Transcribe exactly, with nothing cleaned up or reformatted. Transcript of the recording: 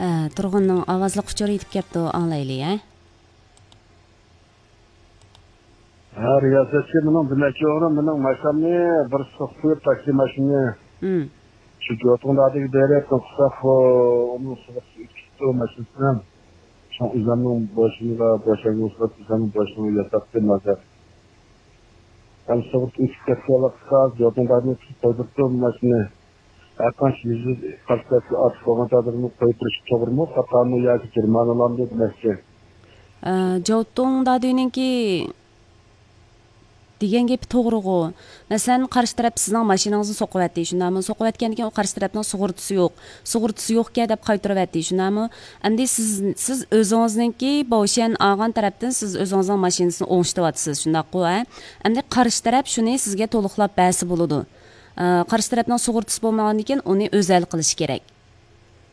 ئە، تۇرغۇننىڭ ئاۋازلىق ئۇچۇرى يېتىپ كەپتۇ، ئاڭلايلى، ھە؟ ھە، رىياسەتچى، مېنىڭ دېمەكچى بولغىنىم، مېنىڭ ماشىنامنى بىر سوقۇپ قويۇپ، تاكسى ماشىنىنى مم. شۇ جوتۇڭدادىكى دېرەكتىن قىلساق، ئۇ، ئۇنىڭ سوقۇپ ئۆتۈپ كېتىپتۇ ماشىنىسى. شۇڭا ئۆزۈمنىڭ بوشۇمغا، بوشاڭغا سوقۇپ، ئۆزۈمنىڭ بوشىنى ياساپتىم ھازىر. ھەم سوقۇپ ئۆتۈپ كەتكەن ۋاقىتتا جوتۇڭدادىن قىلىپ قويدۇرۇپتۇ ماشىنىنى. ھەرقانچە يۈز، يۈز قارشى تەرەپكە ئارتىپ بولغان تەقدىردىمۇ قويۇپ بېرىش توغرىمۇ، خاتامۇ ياكى جەرىمانىلامدۇ دېمەكچى. ئە، جوتۇڭ دادۈنىڭكى دېگەن گېپى توغرىغۇ. مەسىلەن، قارشى تەرەپ سىزنىڭ ماشىنىڭىزنى سوقۇۋەتتى، شۇنداقمۇ؟ سوقۇۋەتكەندىن كېيىن ئۇ قارشى تەرەپنىڭ سۇغۇرتىسى يوق، سۇغۇرتىسى يوقكەن دەپ قايتۇرۇۋەتتى، شۇنداقمۇ؟ ئەمدى سىز، سىز ئۆزىڭىزنىڭكى بوشيەن ئالغان تەرەپتىن سىز ئۆزىڭىزنىڭ ماشىنىسىنى ئوڭشىتىۋاتىسىز، شۇنداققۇ، ھە؟ ئەمدى قارشى تەرەپ شۇنى سىزگە تولۇقلاپ بەرسە بولىدۇ. ئە، قارشى تەرەپنىڭ سۇغۇرتىسى بولمىغاندىن كېيىن ئۇنى ئۆزى ھەل قىلىشى كېرەك.